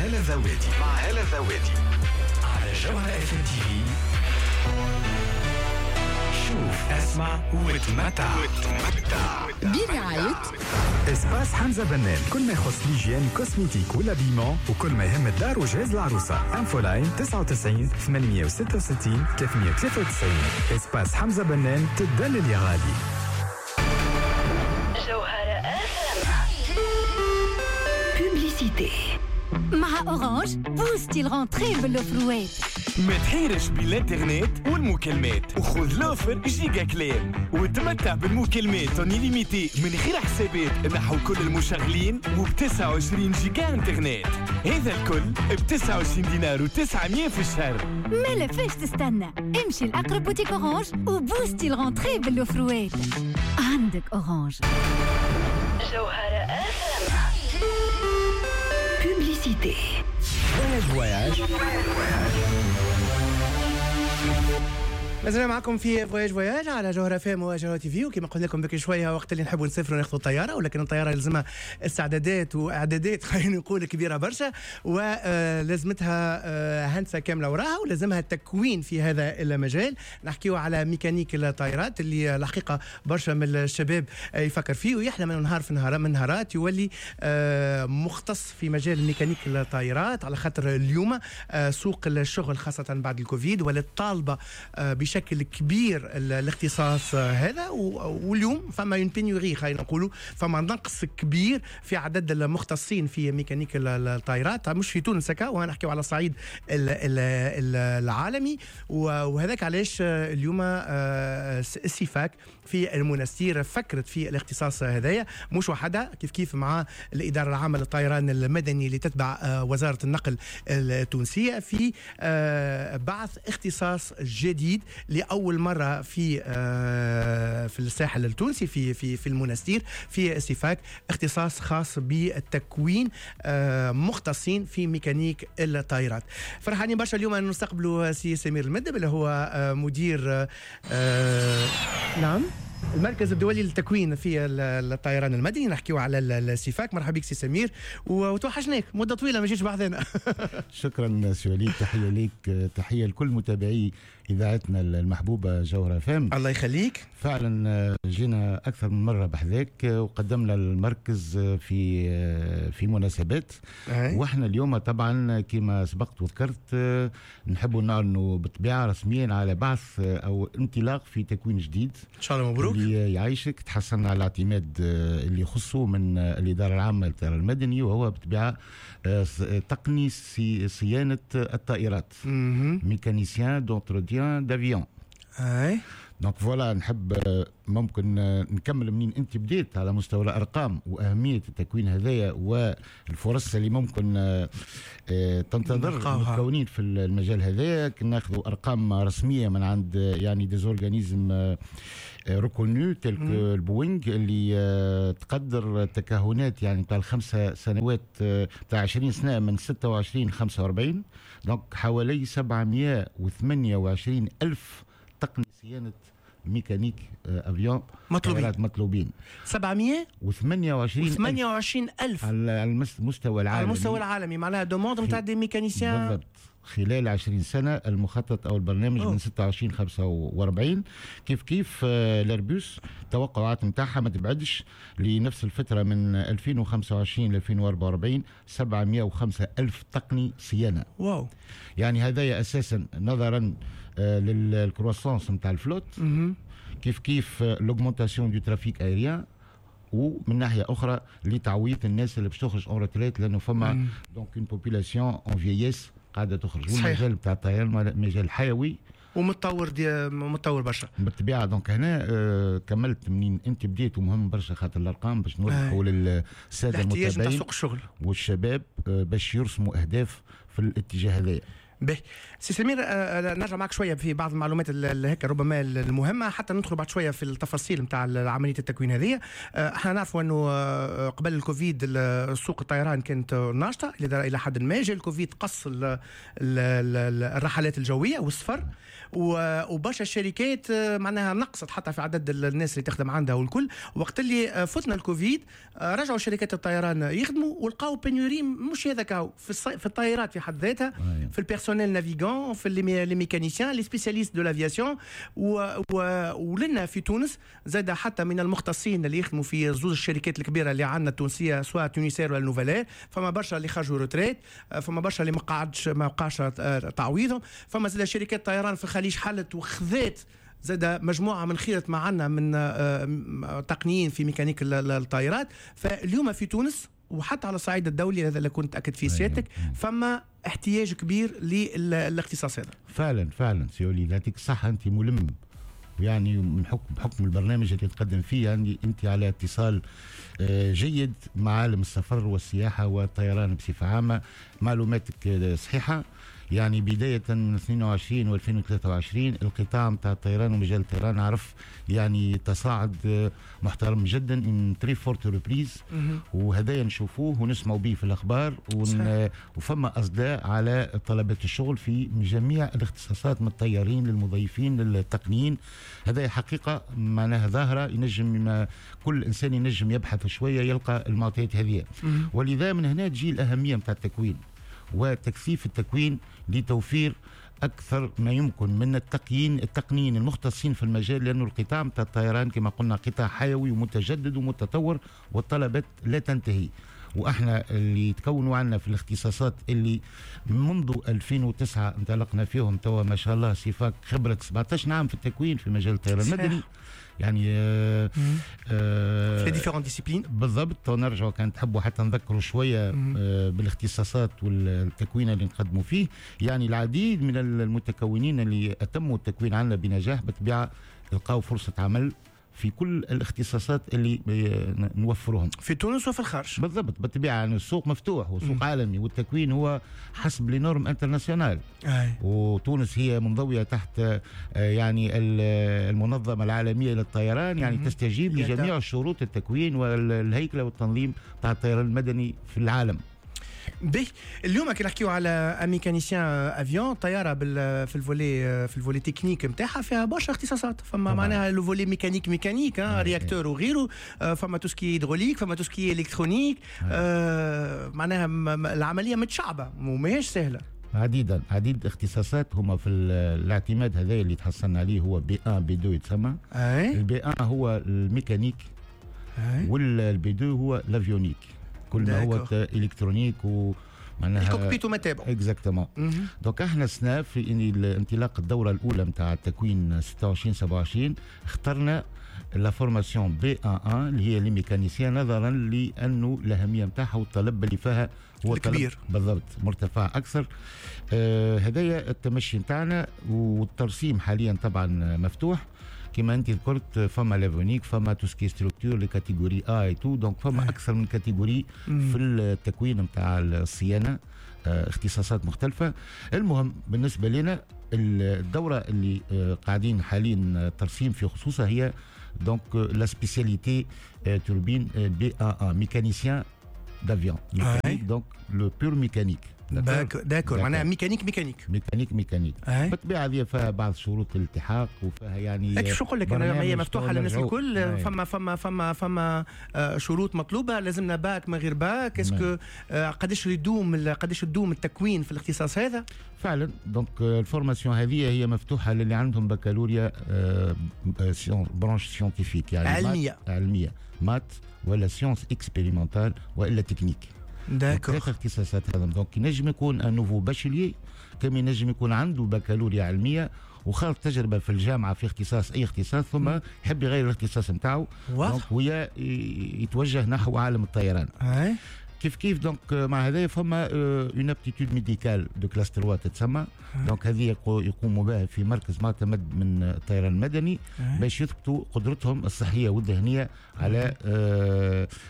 هالة الذوادي، مع هالة الذوادي على جوهرة اف ام تي في. شوف، اسمع وتمتع، وتمتع. برعاية espace حمزة بنان، كل ما يخص l'hygiène، cosmétique ولا l'habillement، وكل ما يهم الدار وجهاز العروسة. infoline 99 866 393. espace حمزة بنان، تدلل يا غالي. جوهرة publicité. مع Orange boostي ال rentrée بال offreوات. ما تحيرش بالانترنت والمكالمات وخذ l'offre giga كلام وتمتع بالمكالمات en illimité من غير حسابات نحو كل المشغلين وب 29 جيجا انترنت، هذا الكل ب 29 دينار و900 في الشهر. مالا فاش تستنى؟ امشي لأقرب boutique Orange و boostي ال rentrée بال offreوات. عندك Orange. جوهرة publicité. voyage voyage. مازلنا معكم في voyage voyage على جوهرة اف ام وجوهرة تي في. وكما قلنا لكم بكري شويه، وقت اللي نحبوا نسافروا ناخذوا الطياره، ولكن الطيارة لازمها استعدادات واعدادات، خلينا نقول، كبيرة برشا، ولازمتها هندسة كاملة وراها، ولازمها تكوين في هذا المجال. نحكيو على ميكانيك الطائرات، اللي الحقيقة برشا من الشباب يفكر فيه ويحلم انه نهار في نهار من نهارات يولي مختص في مجال ميكانيك الطائرات، على خاطر اليوم سوق الشغل، خاصة بعد الكوفيد، ولات طالبه بشكل كبير الاختصاص هذا. واليوم فما une pénurie، خلينا نقولوا فما نقص كبير في عدد المختصين في ميكانيك الطائرات، مش في تونس هكا، ونحكيو على الصعيد العالمي. وهذاك علاش اليوم السيفاك في المنستير فكرت في الاختصاص هذايا، مش وحدها، كيف كيف مع الإدارة العامة للطيران المدني اللي تتبع وزارة النقل التونسية، في بعث اختصاص جديد لاول مرة في الساحل التونسي، في المنستير، في السيفاك، اختصاص خاص بالتكوين مختصين في ميكانيك الطائرات. فرحانين برشا اليوم ان نستقبلوا سي سمير المدب، اللي هو مدير نعم المركز الدولي للتكوين في الطيران المدني. نحكيو على السيفاك. مرحبا بك سي سمير، وتوحشناك، مده طويلة ما جيتش بحذانا. شكرا سي وليد، تحية ليك، تحية لكل متابعي اذاعتنا المحبوبة جوهره اف ام. الله يخليك. فعلا جينا اكثر من مرة بحذاك وقدمنا المركز في مناسبات. واحنا اليوم طبعا كما سبقت وذكرت نحب نعلنوا بالطبيعة رسميا على بعث او انطلاق في تكوين جديد. ان شاء الله مبروك. اللي يعيشك، تحصلنا على اعتماد اللي يخصه من الادارة العامة للطيران المدني، وهو بالطبيعة تقني صيانة الطائرات، mécanicien d'entretien d'avion. Donc voilà، نحب ممكن نكمل منين انت بديت على مستوى الارقام واهمية التكوين هذايا والفرص اللي ممكن تنتظر المتكونين في المجال هذايا. ناخذوا ارقام رسمية من عند يعني des organismes reconnus tels que البوينغ، اللي تقدر التكهنات يعني تاع ال5 سنوات، تاع 20 سنه، من 26 45، donc حوالي 728 الف تقني صيانة ميكانيك avion مطلوبين. مطلوبين. 700 و28 28 ألف. على المستوى العالمي. على المستوى العالمي، معناها demande نتاع des mécaniciens. بالضبط، خلال 20 سنة المخطط أو البرنامج. أوه. من 26 45. كيف كيف الاربوس التوقعات نتاعها ما تبعدش لنفس الفترة من 2025 ل 2044 705 ألف تقني صيانة. يعني هذا أساسا نظرا لل croissance نتاع ال flotte، كيف كيف l'augmentation du trafic aérien، ومن ناحية اخرى لتعويض الناس اللي باش تخرج en retraite، لانه فما donc une population en vieillesse قاعدة تخرج. والمجال بتاع الطيران مجال حيوي. ومتطور، دي متطور برشا. بالطبيعه. donc هنا كملت منين انت بديت، ومهم برشا خاطر الارقام باش نوضحوا للسادة المتابعين سوق الشغل والشباب باش يرسموا اهداف في الاتجاه هذايا. به سي سمير، نرجع معك شوية في بعض المعلومات هيك ربما المهمة، حتى ندخل بعد شوية في التفاصيل نتاع عملية التكوين هذه. احنا نعرفوا انه قبل الكوفيد سوق الطيران كانت ناشطة الى حد ما، جاء الكوفيد قص الرحلات الجوية والسفر، وبرشا الشركات معناها نقصت حتى في عدد الناس اللي تخدم عندها والكل. وقت اللي فتنا الكوفيد رجعوا شركات الطيران يخدموا ولقاو pénurie، مش هذاك في الطيارات في حد ذاتها، في ال personnel navigant، في les mécaniciens، les spécialistes de l'aviation. ولنا في تونس زاد حتى من المختصين اللي يخدموا في زوز الشركات الكبيرة اللي عندنا التونسيه، سواء Tunisair ولا Nouvelair، فما برشا اللي خرجوا retraite، فما برشا اللي ما بقاش تعويضهم. فما زاد شركات طيران في الخليج حلت وخذات زاد مجموعة من خيره ما عندنا من تقنيين في ميكانيك الطائرات. فاليوم في تونس وحتى على الصعيد الدولي، هذا اللي كنت أكد فيه سيادتك، فما احتياج كبير للاختصاص هذا. فعلا فعلا سي وليد، يعطيك الصحة، أنت ملم يعني من بحكم البرنامج اللي تقدم فيه، يعني أنت على اتصال جيد مع عالم السفر والسياحة والطيران بصفة عامة. معلوماتك صحيحة، يعني بداية من 22 و 2023 القطاع نتاع الطيران ومجال الطيران عرف يعني تصاعد محترم جدا، une très forte reprise، وهذا نشوفوه ونسمعوا به في الأخبار، وفما أصداء على طلبات الشغل في جميع الاختصاصات، من الطيارين للمضيفين للتقنيين. هذا حقيقة معناها ظاهرة، ينجم كل إنسان ينجم يبحث شوية يلقى المعطيات هذه. ولذا من هنا تجي الأهمية نتاع التكوين وتكثيف التكوين لتوفير أكثر ما يمكن من التقنيين المختصين في المجال، لأنه القطاع نتاع الطيران كما قلنا قطاع حيوي ومتجدد ومتطور، والطلبات لا تنتهي. واحنا اللي تكونوا عنا في الاختصاصات اللي منذ 2009 انطلقنا فيهم، توا ما شاء الله سيفاك خبرة 17 عام في التكوين في مجال الطيران المدني، يعني في différentes disciplines بالضبط. ونرجعوا كان تحبوا حتى نذكروا شوية بالاختصاصات والتكوين اللي نقدموا فيه. يعني العديد من المتكونين اللي اتموا التكوين عندنا بنجاح بالطبيعة لقاو فرصة عمل في كل الاختصاصات اللي نوفرهم في تونس وفي الخارج. بالضبط، بالطبيعة يعني السوق مفتوح وسوق عالمي، والتكوين هو حسب les normes internationales، وتونس هي منضويه تحت يعني المنظمة العالمية للطيران، يعني تستجيب لجميع شروط التكوين والهيكله والتنظيم تاع الطيران المدني في العالم. به اليوم كي نحكيو على mécanicien avion، طيارة في ال volet technique نتاعها فيها برشا اختصاصات، فما معناها le volet mécanique réacteur وغيره، فما tout ce qui est hydraulique، فما tout ce qui est électronique، معناها العملية متشعبة وماهيش سهلة. عديد اختصاصات هما في الاعتماد هذا اللي تحصلنا عليه، هو B1 B2 يتسمى. ال B1 هو الميكانيك، وال B2 هو l'avionique، كل ما هو électronique ومعناها ال cockpit وما تابعه. exactement. donc احنا سنة في انطلاق الدورة الاولى نتاع التكوين 26 27 اخترنا la formation B1 اللي هي les mécaniciens، نظرا لانه الاهمية نتاعها والطلب اللي فيها هو كبير. بالضبط، مرتفع اكثر. هذايا التمشي نتاعنا، والترسيم حاليا طبعا مفتوح كما انت ذكرت. فما l'avionique، فما tout ce qui est structure، les catégories A et tout، donc فما اكثر من catégorie في التكوين نتاع الصيانة، اختصاصات مختلفة. المهم بالنسبة لنا الدورة اللي قاعدين حاليا ترسيم في خصوصها هي donc la spécialité turbine B1 mécanicien d'avion، mécanique، donc le pur mécanique. d'accord، معناها mécanique mécanique mécanique mécanique. بالطبيعة هذه فيها بعض شروط الالتحاق وفيها يعني شو نقول لك، انا هي مفتوحة للناس الكل. فما فما فما فما شروط مطلوبه، لازمنا باك من غير bac، est-ce que قداش يدوم، قداش تدوم التكوين في الاختصاص هذا؟ فعلا donc ال formation هذه هي مفتوحة للي عندهم بكالوريا branche scientifique، يعني علمية maths ولا sciences expérimentales والا techniques. d'accord، ثلاث اختصاصات هذا. donc ينجم يكون un nouveau bachelier، كما ينجم يكون عنده بكالوريا علمية وخاض تجربه في الجامعة في اختصاص اي اختصاص، ثم يحب يغير الاختصاص نتاعو ويا يتوجه نحو عالم الطيران. كما كيف كيف donc مع هذا فما une aptitude médicale de classe 3 تتسمى. donc هذه يقوموا بها في مركز معتمد من الطيران المدني باش يثبتوا قدرتهم الصحية والذهنية على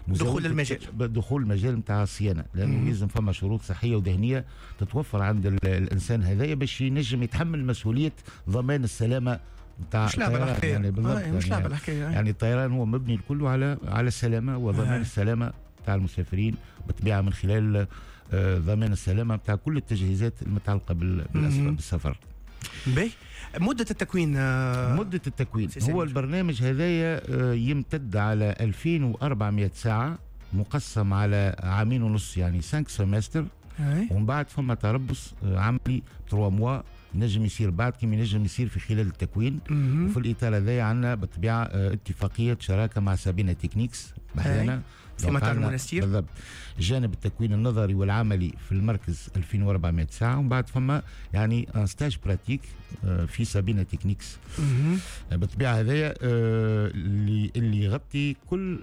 دخول المجال، دخول المجال نتاع الصيانة، لانه لازم فما شروط صحية وذهنيه تتوفر عند الانسان هذايا باش ينجم يتحمل مسؤولية ضمان السلامة نتاع مش لعبه الحكاية يعني بالضبط. مش لعبه الحكاية يعني الطيران هو مبني الكل على السلامة وضمان السلامة تاع المسافرين بالطبيعة من خلال ضمان السلامة نتاع كل التجهيزات المتعلقة بالسفر. باهي، مده التكوين مده التكوين هو البرنامج هذايا يمتد على 2400 ساعة مقسم على عامين ونص، يعني 5 semestres، ومن بعد فما تربص عملي 3 mois نجم يصير بعد كما ينجم يصير في خلال التكوين. وفي الاطار هذايا عندنا بالطبيعة اتفاقية شراكة مع سابينا تكنيكس بحذانا في مطار المنستير بالضبط. جانب التكوين النظري والعملي في المركز 2400 ساعة، ومن بعد فما يعني un stage pratique في سابينا تكنيكس بالطبيعة هذايا اللي يغطي كل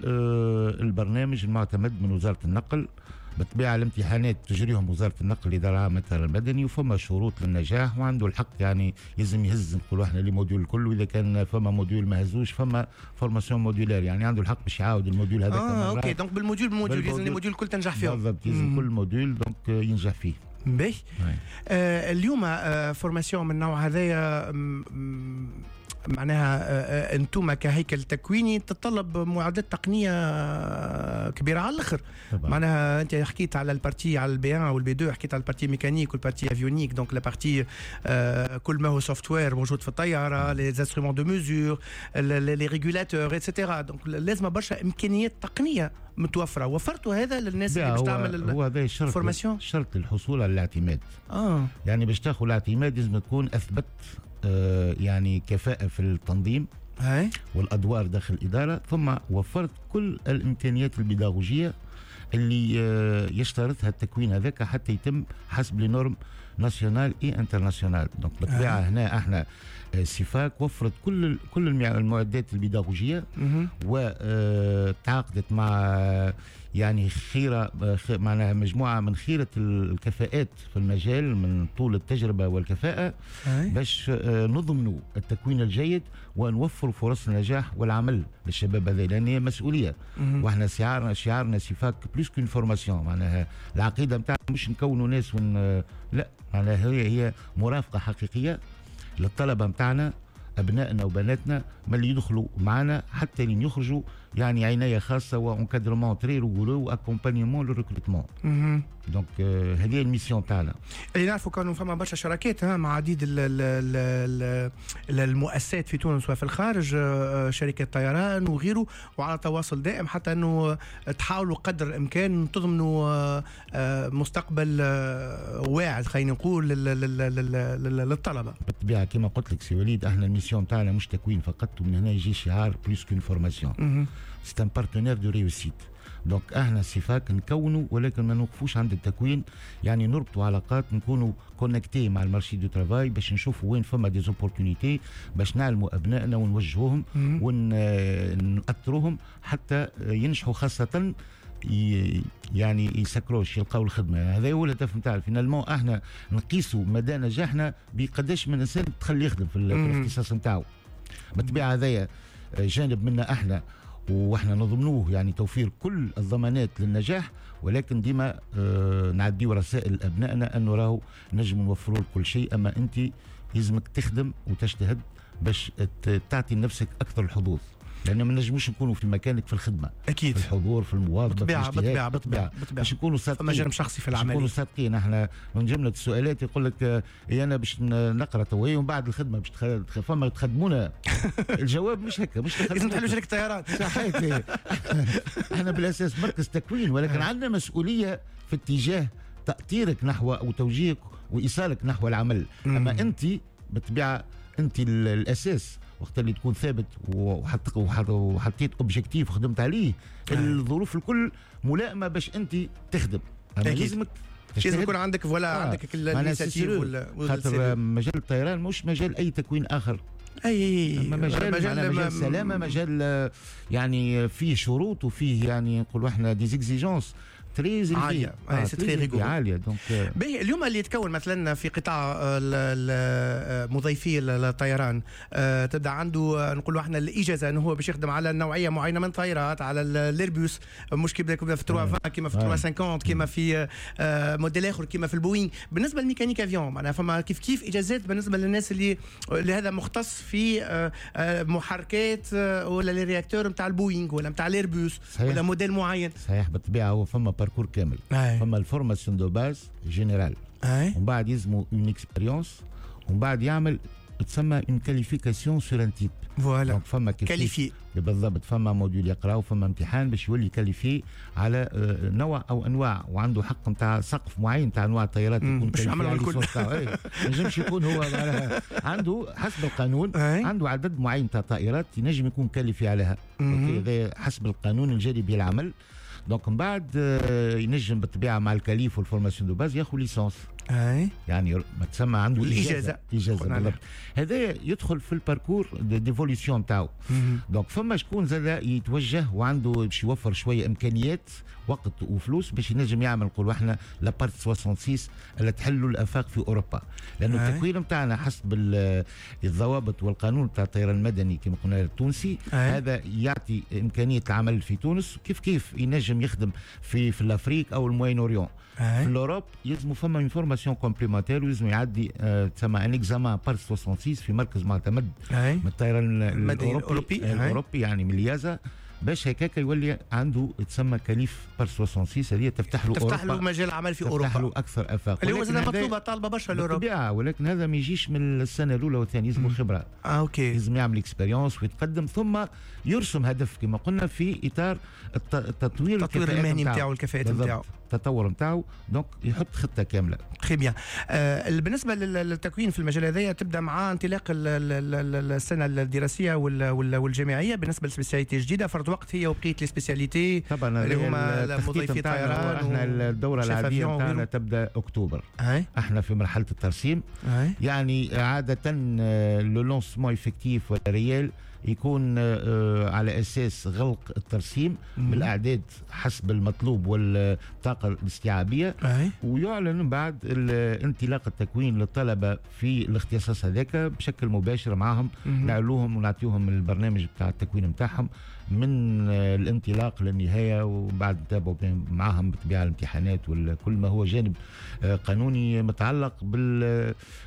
البرنامج المعتمد من وزارة النقل. بالطبيعة الامتحانات تجريهم وزارة النقل الادارة العامة للطيران المدني، وفما شروط للنجاح وعنده الحق يعني لازم يهز نقولوا احنا les modules الكل، واذا كان فما module ما هزوش فما formation modulaire، يعني عنده الحق باش يعاود ال module هذاك. OK، donc بال module بال module لازم les modules الكل تنجح فيهم. بالضبط، لازم كل module donc ينجح فيه. باهي. اليوم formation من النوع هذايا معناها انتم كهيكل تكويني تتطلب معدات تقنية كبيرة على الاخر. معناها انت حكيت على ال partie على ال B 1 وال B 2، حكيت على ال partie mécanique وال partie avionique، donc la partie كل ما هو software موجود في الطيارة، les instruments de mesure، les régulateurs et cetera. donc لازم برشا امكانيات تقنية متوفرة. وفرتوا هذا للناس اللي باش تعمل هو هذا الشرط، شرط الحصول على الاعتماد. يعني باش تاخذ الاعتماد لازم تكون اثبت يعني كفاءة في التنظيم والأدوار داخل الإدارة، ثم وفرت كل الإمكانيات البيداغوجية اللي يشترطها التكوين هذاك حتى يتم حسب les normes nationales et internationales. donc بالطبيعة هنا احنا سيفاك وفرت كل المعدات البيداغوجية وتعاقدت مع يعني خيرة، معناها مجموعة من خيرة الكفاءات في المجال من طول التجربة والكفاءة باش نضمنوا التكوين الجيد ونوفر فرص النجاح والعمل للشباب هذا، لأن هي مسؤولية. واحنا شعارنا سيفاك plus qu'une formation، معناها العقيدة نتاعنا مش نكونوا ناس لا، معناها هي مرافقة حقيقية للطلبة نتاعنا، أبنائنا وبناتنا، من اللي يدخلوا معنا حتى لين يخرجوا، يعني عناية خاصة و encadrement très rigoureux و accompagnement le recrutement. donc هذه ال mission تاعنا. اللي نعرفوا كانوا فما برشا شراكات مع عديد المؤسسات في تونس وفي الخارج، شركات طيران وغيره، وعلى تواصل دائم حتى انه تحاولوا قدر الامكان تضمنوا مستقبل واعد خلينا نقول للطلبة. بالطبيعة كما قلت لك سي وليد، احنا ال mission تاعنا مش تكوين فقط، ومن هنا يجي شعار plus qu'une formation، c'est un partenaire de réussite. donc احنا سيفاك نكونوا ولكن ما نوقفوش عند التكوين، يعني نربطوا علاقات، نكونوا connectés مع ال marché du travail باش نشوفوا وين فما des opportunités باش نعلموا ابنائنا ونوجهوهم ونأطروهم حتى ينجحوا، خاصة يعني يسكروش يلقاو الخدمة. يعني هذا هو الهدف نتاعنا finalement. احنا نقيسوا مدى نجاحنا بقداش من انسان دخل يخدم في الاختصاص نتاعو. بالطبيعة هذايا جانب منا احنا واحنا نضمنوه، يعني توفير كل الضمانات للنجاح، ولكن ديما نعديو رسائل لابنائنا انه راهو نجم نوفروا لك كل شيء، اما انت لازمك تخدم وتجتهد باش تعطي لنفسك اكثر الحظوظ، لأنه ما نجموش نكونوا في مكانك في الخدمة، أكيد، في الحضور، في المواظبة، بالطبيعة بالطبيعة بالطبيعة باش نكونوا صادقين. فما جانب شخصي في العملية، نكونوا صادقين. احنا من جملة السؤالات يقول لك أنا باش نقرأ توي ومن بعد الخدمة باش فما تخدمونا. الجواب مش هكا، مش لازم تحلوا شركة طيران. صحيح. احنا بالأساس مركز تكوين، ولكن عندنا مسؤولية في اتجاه تأطيرك نحو وتوجيهك وإيصالك نحو العمل. أما أنت بالطبيعة أنت الأساس، وقت اللي تكون ثابت وحطيت objectif وخدمت عليه، الظروف الكل ملائمه باش انت تخدم. اما لازمك لازم يكون عندك voilà عندك ال initiative ولا خاطر مجال الطيران مش مجال اي تكوين اخر. اي مجال سلامه، مجال يعني فيه شروط وفيه يعني نقولوا احنا des exigences très عاليه، c'est très rigoureux. عاليه، donc باهي، اليوم اللي يتكون مثلا في قطاع مضيفي الطيران تبدا عنده نقولوا احنا الاجازة انه هو باش يخدم على نوعية معينة من الطيارات، على الإيربوس، مش كيما في 320، كيما في 350، كيما في موديل اخر، كيما في البوينغ. بالنسبة لل mécanique avion معناها فما كيف كيف اجازات بالنسبة للناس اللي هذا مختص في محركات ولا les réacteurs نتاع البوينغ ولا نتاع الإيربوس ولا موديل معين؟ صحيح، بالطبيعة هو فما parcours كامل. فما ال formation de base générale، ومن بعد يلزموا une expérience، ومن بعد يعمل تسمى une qualification sur un type. voilà. donc فما كيف qualifié. بالضبط، فما module يقرا وفما امتحان باش يولي qualifié على نوع او انواع، وعنده حق نتاع سقف معين نتاع انواع الطيارات يكون باش يعملوا الكل. ما ينجمش يكون هو عنده حسب القانون عنده عدد معين تاع طائرات ينجم يكون qualifié عليها، هذا حسب القانون الجاري به العمل. donc من بعد ينجم بالطبيعة مع ال qualif وال formation de base ياخذ licence. يعني ما تسمى عنده الاجازه. اجازه بالضبط. هذا يدخل في ال parcours d'évolution تاعو. donc فما شكون زاد يتوجه وعنده باش يوفر شوية امكانيات، وقت وفلوس، باش ينجم يعمل نقولوا احنا la PART 66 اللي تحلوا الافاق في اوروبا، لانه التكوين نتاعنا حسب الضوابط والقانون تاع الطيران المدني كما قلنا التونسي هذا يعطي امكانية العمل في تونس، كيف كيف ينجم يخدم في l'Afrique او ال Moyen-Orient. في l'Europe يلزم فما une formation complémentaire ويلزم يعدي تسمى un examen PART 66 في مركز معتمد من الطيران الاوروبي، يعني من ال EASA، باش هكاك يولي عنده تسمى qualif PART 66. هذه تفتح له تفتح له مجال عمل في اوروبا، تفتح له اكثر افاق. اللي هو زاد مطلوبه، طالبه برشا l'Europe. بالطبيعه، ولكن هذا ما يجيش من السنة الاولى والثانيه، لازم خبره. OK. لازم يعمل expérience ويتقدم، ثم يرسم هدف كما قلنا في اطار التطوير. التطوير المهني نتاعو، الكفاءات نتاعو. التطور نتاعو، donc يحط خطه كامله. très bien. بالنسبة للتكوين في المجال هذايا، تبدا مع انطلاق السنة الدراسية والجامعيه بالنسبة لل spécialité الجديدة فرد وقت هي وبقية les spécialités؟ طبعا. اللي هما مضيفي طيران. احنا الدورة العادية نتاعنا تبدا اكتوبر. احنا في مرحلة الترسيم. يعني عادة le lancement effectif ولا réel يكون على اساس غلق الترسيم بالاعداد حسب المطلوب والطاقة الاستيعابيه، ويعلن بعد انطلاق التكوين للطلبة في الاختصاص هذاك بشكل مباشر معهم، نعلوهم ونعطيهم البرنامج بتاع التكوين نتاعهم من الانطلاق للنهايه، وبعد نتابعوا معهم بالطبيعة الامتحانات وكل ما هو جانب قانوني متعلق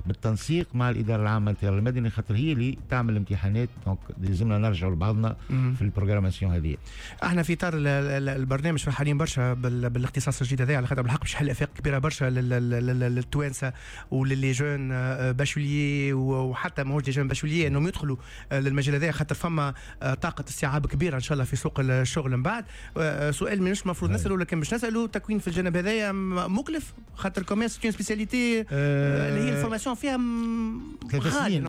بالتنسيق مع الادارة العامة للطيران المدني، خاطر هي اللي تعمل الامتحانات، donc لازمنا نرجعوا لبعضنا في ال programmation هذه. احنا في اطار البرنامج فرحانين برشا بالاختصاص الجديد هذا، على خاطر بالحق باش يحل افاق كبيرة برشا للتوانسه ولل les jeunes bacheliers، وحتى ماهوش des jeunes bacheliers، انهم يدخلوا للمجال هذا، خاطر فما طاقة استيعاب كبيرة ان شاء الله في سوق الشغل من بعد. سؤال مش المفروض نساله لكن باش نساله: تكوين في الجانب هذايا مكلف؟ خاطر quand même c'est une spécialité اللي هي ال formation فيها 3 سنين.